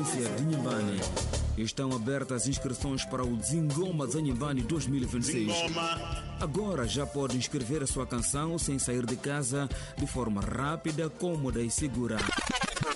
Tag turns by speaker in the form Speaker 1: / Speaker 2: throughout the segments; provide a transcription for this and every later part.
Speaker 1: Província de Inhambane. Estão abertas inscrições para o Zingoma Zanhambane 2026. Agora já pode inscrever a sua canção sem sair de casa, de forma rápida, cômoda e segura.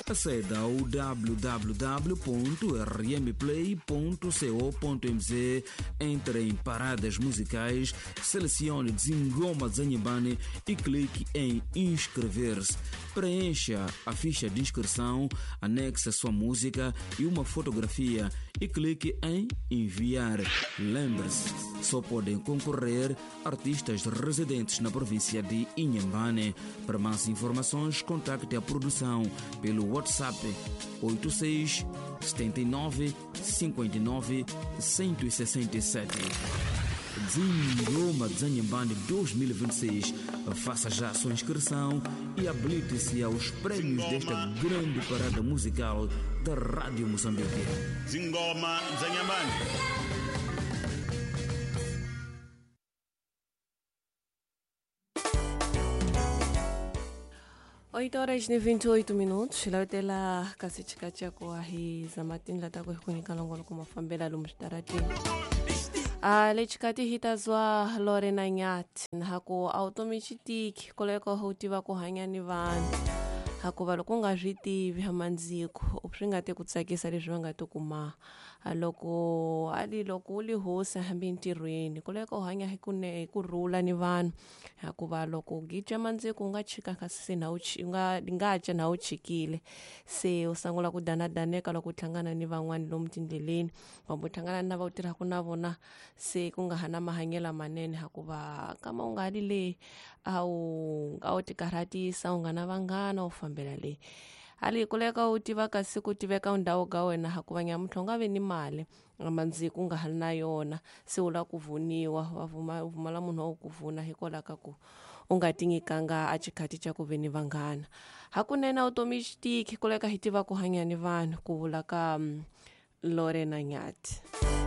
Speaker 1: Aceda ao www.rmplay.co.mz, entre em paradas musicais, selecione Zingoma Zanhambane e clique em inscrever-se. Preencha a ficha de inscrição, anexe a sua música e uma fotografia e clique em enviar. Lembre-se, só podem concorrer artistas residentes na província de Inhambane. Para mais informações, contacte a produção pelo WhatsApp 86 79 59 167. Zingoma Zanhambane 2026. Faça já a sua inscrição e habilite-se aos prêmios desta grande parada musical da Rádio Moçambique.
Speaker 2: Zingoma Zanhambane.
Speaker 3: 8:28 lawutela kasi chikachako ahi zamatini lata ku hi ku nyika nongonoko mafambela lomu switarateni. A lexikati hi ta zwa Lorena Nyati haku a wu tomi xitiki koleko u tiva ku hanya ni vanhu hakuva loko u nga swi tivi mandziko swi nga ti ku tsakisa leswi va nga ti kuma loko a li loko u li hosi hambi ntirhweni koleko u hanya hi ku hi kurhula ni vanhu hakuva loko u gija mandziko u nga chika kasi se na u nga nga ca na u chikile se u sungula ku danadaneka loko u hlangana ni van'wani lomu tindleleni kumbe u hlangana na va u tirhaka na vona se ku nga ha na mahanyelo manene hakuva kama u nga li le a wu a wu ti karhatisa u nga na vanghana u fambela le ali kuleka u tiva kasi ku tiveka ndhawu ka wena hakuva nyamuntlha u nga vi ni mali mandziko u nga ha ri na yona se u lava ku vuniwa va vuma u pfumala munhu wa ku vuna hikwalaho ka ku u nga ti nyikanga a xikhathi xa ku ve ni vanghana hakunene a vutomi xitiki kuleka hi tiva ku hanya ni vanhu ku vula ka Lorena Nyati.